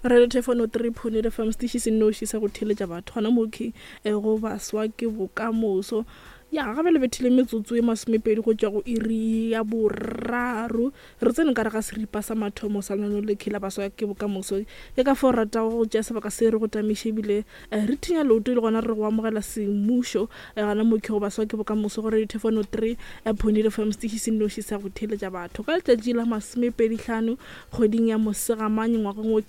Radio Thefano 3.8 FM, setiši se nnoši sa go theeletša batho gona mo ke eh, go baswa ke bokamoso. Ya gabe le bethile metsotso e masomepedi go tšwa go iri ya boraro. Re tsene ka re ga seripa sa mathomo sa lenaneo le la baswa ke bokamoso. Ke ka fao re ratago go tšea sebaka se re go tamiše ebile eh, re thinya leoto e le gona re go amogela semmušo eh, gona mo ke go baswa ke bokamoso go Radio Thefano 3.8 FM, setiši se nnoši sa go theeletša batho. Ka letšatši la masomepedi hlano kgweding ya Mosegamanye ngwageng wo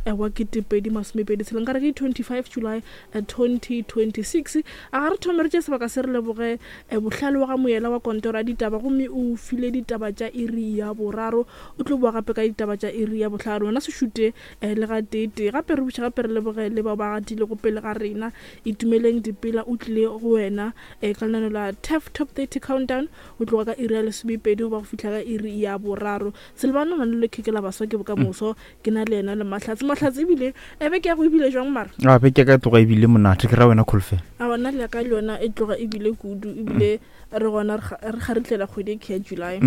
eh, wa 2026, nkare ke 25 July 2026. A ga re thome re tše sebaka se re leboge eh, bohlale wa ga moyela wa kontoro ya ditaba, gomme o file ditaba tša iri ya boraro, o tlo boa gape ka ditaba tša iri ya bohlano. Wena se šute eh, le ga tee. Gape re buša gape re leboge le bao ba gatilego pele ga rena. Itumeleng Dipela o tlile go wena eh, ka lenaneo la TEF Top 30 Countdown go tloga ka iri ya lesomepedi go ba go fihla ka iri ya boraro. Silvano na le lekheke la baswa ke bokamoso. Ke na le yena le Mahlatse. Mahlatse ebile e beke ya go ebile jwang mara? A beke ka tloga ebile monate ke ra wena Kholofelo. A bona le ka le yona e tloga ebile kudu ebile re gona re garitlela kgwedi e ke ya July.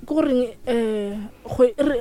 Ke goreng um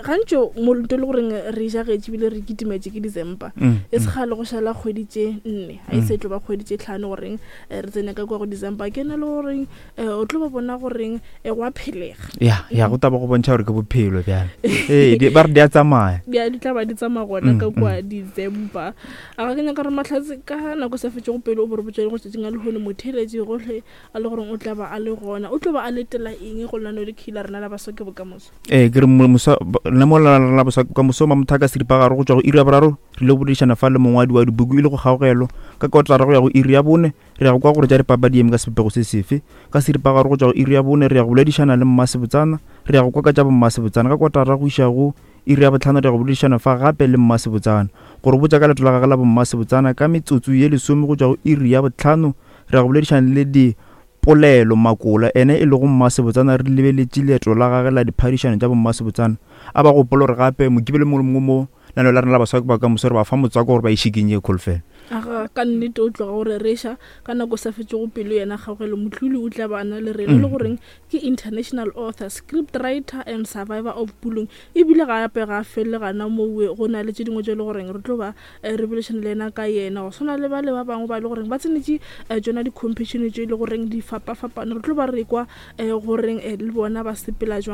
gantši molonto e le goreng re jagetše ebile re kitimetše ke December. E se kgale go šala kgwedi tše nne, ga e se tlo ba kgwedi tše tlhano goreng re tsene ka kwa go December. Ke na le goreng Eh, o tlo ba bona goreng eh, go a phelega. Ya ya go taba go bontšha gore ke bophelo bjale. Ee, ba re di a tsamaya. Di a di tla ba di tsamaya gona ka kwa December. A ga ke nyaka re Mahlatse ka nako sa fetšego pele o bo re botša go tšatšing a lehono motheeletši gohle a le goreng o tla ba a le gona. O tlo ba a letela eng go lenaneo le khila rena la baswa ke bokamoso? Ee, ke re mosa nna mo la la baswa ke bokamoso Mamothaka seripagare go tšwa go iri ya boraro re ile go boledišana fa le mongwadi wa dibuku e le go kgaogelo ka kotara go ya go iri ya bone. Re ya go kwa gore tša dipapadi di eme ka sebopego se sefe. Ka seripagare go tšwa go iri ya bone re ya go boledišana le Mmasebotsana. Re ya go kwa ka tša boMmasebotsana. Ka kotara go iša go iri ya bohlano re ya go boledišana fa gape le Mmasebotsana. Go re botša ka leeto la gagwe la boMmasebotsana. Ka metsotso ye lesome go tšwa go iri ya bohlano re ya go boledišana le Dipolelo Makola, ene e lego Mmasebotsana re lebeletše leeto la gagwe la diphadišano tša boMmasebotsana. A ba gopola gore gape Mokibelo mongwe le mongwe mo Lenaneo la rena la Baswa ke Bokamoso re ba fa motswako gore ba e šikinye kholofelo. Aga, ka nnete o tloga o rereša. Ka nako sa fetšego pelo yena Kgaugelo Motlhuli o tla ba a na le rena, e le goreng ke international author, script writer and survivor of bullying. Ebile gape ga a felele gana mowe, go na le tše dingwe tše e le goreng re tlo ba re boledišana le yena ka yena, go swana le bale ba bangwe ba e le goreng ba tsenetše tšona di-competition tše e le goreng di fapafapane. Re tlo ba re kwa goreng le bona ba sepela jwang.